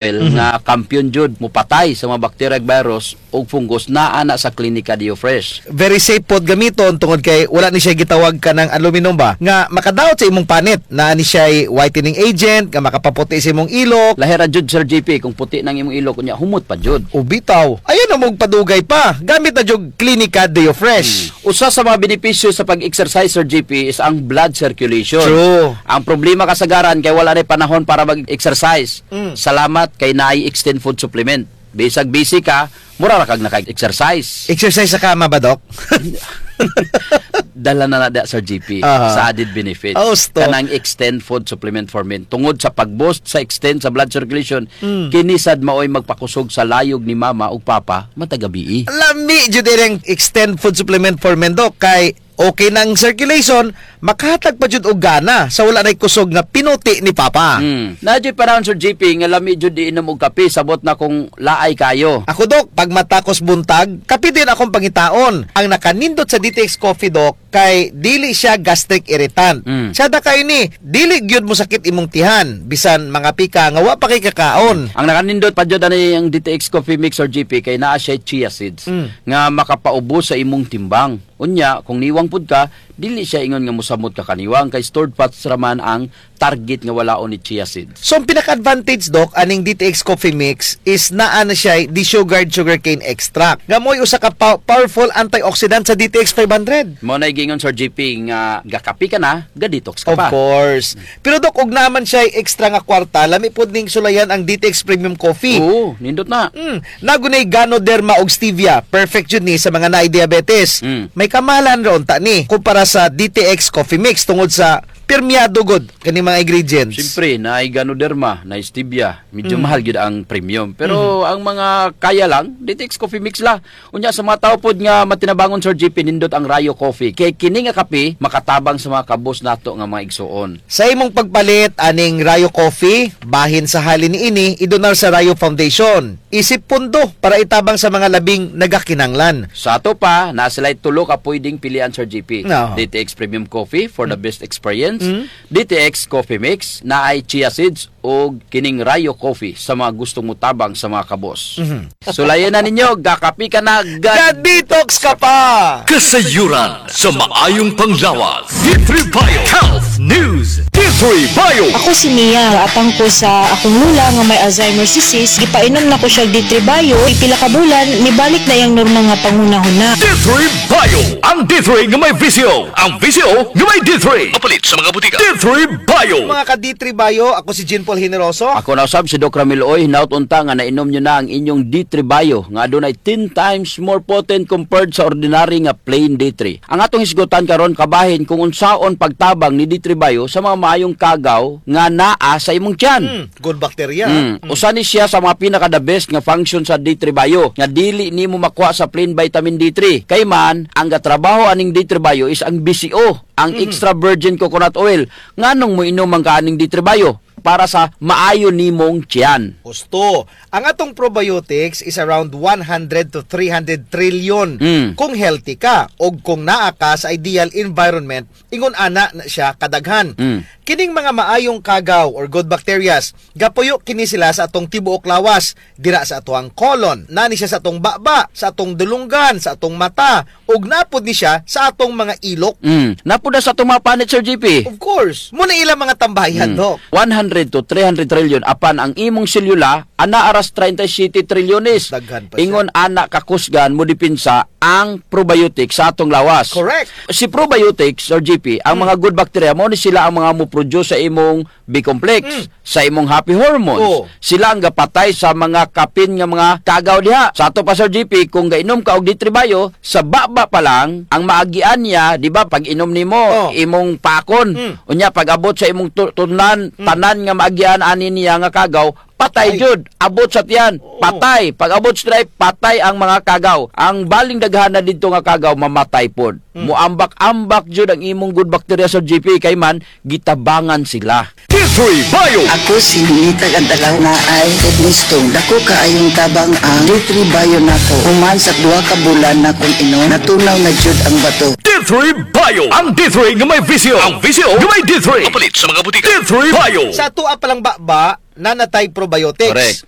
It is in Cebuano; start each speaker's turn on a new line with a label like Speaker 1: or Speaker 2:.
Speaker 1: Nga kampiyon jud mupatay sa mga bacteria, virus ug fungus naa na sa Klinika Dio Fresh.
Speaker 2: Very safe pod gamiton tungod kay wala ni siya gitawag kanang aluminum ba nga makadaot sa imong panit na ni siya whitening agent nga makapaputi sa imong ilok.
Speaker 1: Lahera jud, Sir JP, kung puti nang imong ilok unya humot pa jud.
Speaker 2: O bitaw ayan na mong padugay pa gamit na jud Klinika Deo Fresh.
Speaker 1: Usa sa mga benepisyo sa pag-exercise, Sir JP, is ang blood circulation.
Speaker 2: True.
Speaker 1: Ang problema kasagaran kay wala na panahon para mag-exercise. Salamat kay naay Extend Food Supplement. Bisag busy ka, mura ra kag naka-exercise.
Speaker 2: Exercise sa kama ba, Dok?
Speaker 1: Dala na na da, Sir JP, sa added benefits.
Speaker 2: Oh, stop.
Speaker 1: Kanang Extend Food Supplement for Men. Tungod sa pag-boost sa extend sa blood circulation, kini sad maoy magpakusog sa layog ni mama ug papa matag gabii.
Speaker 2: Lami jud iring Extend Food Supplement for Men, Dok, kay okay nang circulation, makahatag pa jud og gana sa wala nay kusog nga pinuti ni papa.
Speaker 1: Naa panahon, Sir JP, nga lami jud inom og kape, sabot na kung laay kayo.
Speaker 2: Ako, Dok, pag matakos buntag, kape din akong pangitaon. Ang nakanindot sa DTX Coffee, Dok, kay dili siya gastric irritant. Sada kay ni, dili gyud mo sakit imong tihan, bisan mga pika nga wa pa kay kakaon.
Speaker 1: Ang nakanindot pa jud ani ang DTX Coffee Mix or GP kay naa siya chia seeds nga makapaubos sa imong timbang. Unya, kung niwang pud ka, dili siya ingon nga mosamot ka kaniwang kay stored fats raman ang target nga walaon ni chia seeds.
Speaker 2: So ang pinaka-advantage, Dok, aning DTX Coffee Mix is naa na siya desugared sugarcane extract. Nga mo'y usa ka powerful antioxidant sa DTX 500.
Speaker 1: Mo na gingon, Sir GP, nga gakapi ka na, ga-detox ka
Speaker 2: Of
Speaker 1: pa.
Speaker 2: course. Pero Dok, og naman siya extra nga kwarta, lami pod ning sulayan ang DTX Premium Coffee.
Speaker 1: Oo, nindot na.
Speaker 2: Nagunay Ganoderma og stevia. Perfect jud ni sa mga naay diabetes. May kamahalan ra unta ni kumpara sa DTX Coffee Mix tungod sa pirmiyado gud kani mga ingredients.
Speaker 1: Siyempre, naay Ganoderma, naay stevia, medyo mahal gyud ang premium. Pero ang mga kaya lang, DTX Coffee Mix la. Unya sa mga tao pod nga matinabangon, Sir GP, nindot ang Rayo Coffee. Kay kini nga kape makatabang sa mga kabos nato nga mga igsuon.
Speaker 2: Sa imong pagpalit aning Rayo Coffee, bahin sa halin niini idonar sa Rayo Foundation. Isip pundo para itabang sa mga labing nagakinanglan.
Speaker 1: Sa ato pa, naa sila tulo ka pwedeng pilian, Sir GP.
Speaker 2: No.
Speaker 1: DTX Premium Coffee for the best experience, DTX Coffee Mix na ay chia seeds o kining Rayo Coffee sa mga gustong mutabang sa mga kabos. Sulayan na ninyo, gakapi ka na, ga
Speaker 2: Ga-detox ka pa!
Speaker 3: Kasayuran sa maayong panglawas. D3 Bio Health News. D3 Bio.
Speaker 4: Ako si Mia, atang ko sa akong lula nga may Alzheimer's disease, gipainom na ko siya D3 Bio, pila ka bulan, nibalik na iyang normal nga panghunahuna.
Speaker 3: D3 Bio. Ang D3 nga may VCO. Ang VCO nga may D3. Mapalit sa mga butika. D3 Bio.
Speaker 2: Mga ka-D3 Bio, ako si Jean Paul Generoso.
Speaker 1: Ako na usab si Doc Ramil Oy, hinaut unta nga nainom nyo na ang inyong D3 Bio nga adunay 10 times more potent compared sa ordinary nga plain D3. Ang atong hisgutan karon kabahin kung unsaon pagtabang ni D3 Bio sa mga maayong kagaw nga naa sa imong tiyan.
Speaker 2: Good bacteria.
Speaker 1: Usa ni siya sa mga pinaka the best nga function sa D3 Bio nga dili nimo makuha sa plain vitamin D3. Kay man ang gatrabaho aning D3 Bio is ang VCO, ang extra virgin coconut oil. Nganong mo inom ang kaaning D3 Bio? Para sa maayo nimong tiyan.
Speaker 2: Gusto. Ang atong probiotics is around 100 to 300 trillion kung healthy ka o kung naa ka sa ideal environment, ingon ana na siya kadaghan. Kining mga maayong kagaw or good bacterias, gapuyo kini sila sa atong tibuok lawas, dira sa atoang colon, nani siya sa atong baba, sa atong dulunggan, sa atong mata, ug napod ni siya sa atong mga ilok.
Speaker 1: Napuda sa atong mga panit, Sir JP.
Speaker 2: Of course, muna ilang mga tambayan, Dok.
Speaker 1: 100 to 300 trillion apan ang imong selula ana aras 37 trilyones.
Speaker 2: Daghan pa siya.
Speaker 1: Ingon ana kakusgan mo dipinsa ang probiotics sa atong lawas.
Speaker 2: Correct.
Speaker 1: Si probiotics or GP, ang mga good bacteria mo ni sila ang mga mo-produce sa imong B complex, sa imong happy hormones. Sila ang gapatay sa mga kapin nga mga kagaw diha. Sa ato pa, Sir GP, kung gainom ka og D3 Bio, sa baba pa lang ang maagian niya, di ba, pag inom nimo imong pakon. Unya pag abot sa imong tunan, tanan nga maagian ani niya nga kagaw, patay
Speaker 2: Ay.
Speaker 1: jud. Abot sa tiyan, patay. Pag abot sa drive, patay ang mga kagaw. Ang baling daghan na didto nga kagaw, mamatay pod. Muambak-ambak jud ang imong good bacteria sa GP kay man gitabangan sila.
Speaker 3: D3 Bio.
Speaker 5: Ako si Ninita Gantalaw na ay kidney stone. Dako kaayong tabang ang D3 Bio nako. Human sa 2 ka bulan na kong inom, natunaw na jud ang bato.
Speaker 3: D3 Bio. Ang D3 nga may VCO. Ang VCO nga may D3. Mapalit sa mga butika. D3 Bio.
Speaker 2: Sa ato palang baba, Nanatay probiotics.
Speaker 1: Correct.